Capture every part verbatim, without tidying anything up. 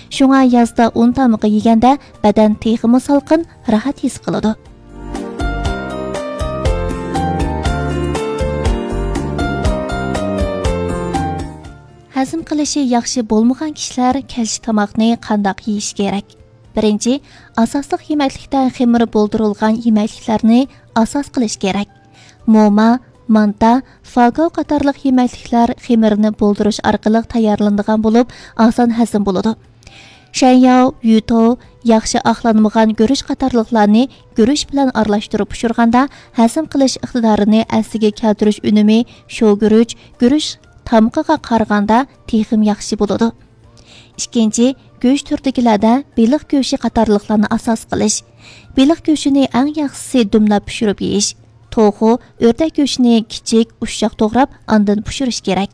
شۇڭا يازدا ئۇن تامىقى يېگەندە بەدەن تېخىمۇ سالقىن، راھەت ھېس قىلىدۇ. ھەزىم قىلىشى ياخشى بولمىغان كىشىلەر كەچلىك تاماقنى قانداق يېيىش كېرەك؟ بىرىنچى، ئاساسلىق يېمەكلىكتە خېمىر بولدۇرۇلغان يېمەكلىكلەرنى ئاساس قىلىش كېرەك. موما، مانتا، فاگاۋ قاتارلىق يېمەكلىكلەر خېمىرنى بولدۇرۇش ئارقىلىق تەييارلىنىدىغان بولۇپ، ئاسان ھەزىم بولىدۇ. شەنياۋ، يۈتو، ياخشى ئاقلانمىغان گۈرۈچ قاتارلىقلارنى گۈرۈچ بىلەن ئارىلاشتۇرۇپ پىشۇرغاندا، ھەزىم قىلىش ئىقتىدارىنى ئەسلىگە كەلتۈرۈش ئۈنۈمى شوۋىگۈرۈچ، گۈرۈچ تامىقىغا قارىغاندا تېخىمۇ ياخشى بولىدۇ. ئىككىنچى، گۆش تۈرىدىكىلەردە بېلىق گۆشى قاتارلىقلارنى ئاساس قىلىش. بېلىق گۆشىنى ئەڭ ياخشىسى دۈملەپ پىشۇرۇپ يېيىش. توخۇ، ئۆردەك گۆشىنى كىچىك، ئۇششاق توغراپ، ئاندىن پىشۇرۇش كېرەك.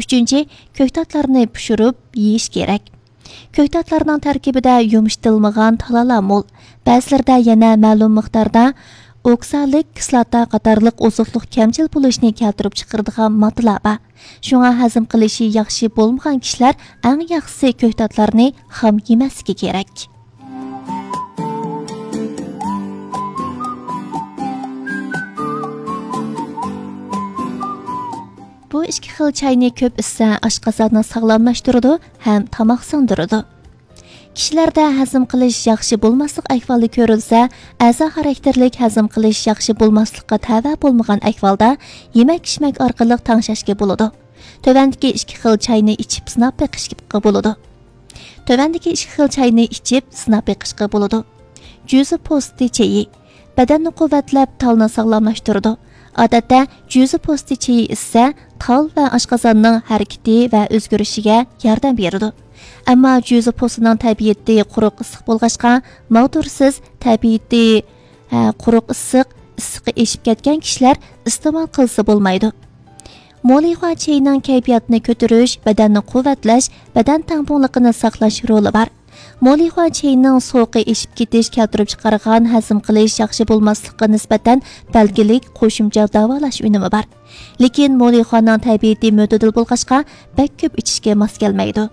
ئۈچىنچى، كۆكتاتلارنى پىشۇرۇپ يېيىش كېرەك. كۆكتاتلارنىڭ تەركىبىدە يۇمشىتىلمىغان تالالار مول. بەزىلىرىدە يەنە مەلۇم مىقداردا ئوكسالىك كىسلاتا قاتارلىق ئوزۇقلۇق كەمچىل بولۇشنى كەلتۈرۈپ چىقىرىدىغان ماددىلار بار. شۇڭا ھەزىم قىلىشى ياخشى بولمىغان كىشىلەر ئەڭ ياخشىسى كۆكتاتلارنى خام يېمەسلىكى كېرەك. بۇ ئىككى خىل چاينى كۆپ ئىچسە، ئاشقازاننى ساغلاملاشتۇرىدۇ ھەم تاماق سىڭدۈرىدۇ. كىشىلەردە ھەزىم قىلىش ياخشى بولماسلىق ئەھۋالى كۆرۈلسە، ئەزا خاراكتېرلىك ھەزىم قىلىش ياخشى بولماسلىققا تەۋە بولمىغان ئەھۋالدا يېمەك-ئىچمەك ئارقىلىق تەڭشەشكە بولىدۇ. تۆۋەندىكى ئىككى خىل چاينى ئىچىپ سىناپ بېقىشقا بولىدۇ. تۆۋەندىكى ئىككى خىل چاينى ئىچىپ سىناپ بېقىشقا بولىدۇ. جۈزە پوستى چېيى. بەدەننى قۇۋۋەتلەپ، تالنى ساغلاملاشتۇرىدۇ. ئادەتتە جۈزە پوستى چېيى ئىچسە، تال ۋە ئاشقازاننىڭ ھەرىكىتى ۋە ئۆزگىرىشىگە ياردەم بېرىدۇ. ئەمما جۈزە پوستىنىڭ تەبىئىتى قۇرۇق ئىسسىق بولغاچقا، ماغدۇرسىز تەبىئىتى، ھە، قۇرۇق ئىسسىق، ئىسسىقى ئېشىپ كەتكەن كىشىلەر ئىستېمال قىلسا بولمايدۇ. مولىخۇا چېيىنىڭ كەيپىياتنى كۆتۈرۈش، بەدەننى قۇۋۋەتلەش، بەدەن تەڭپۇڭلۇقىنى ساقلاش رولى بار. مولىخۇا چېيىنىڭ سوغۇقى ئېشىپ كېتىش كەلتۈرۈپ چىقارغان ھەزىم قىلىش ياخشى بولماسلىققا نىسبەتەن بەلگىلىك قوشۇمچە داۋالاش ئۈنۈمى بار. لېكىن مولىخۇانىڭ تەبىئىتى مۆتىدىل بولغاچقا، بەك كۆپ ئىچىشكە ماس كەلمەيدۇ.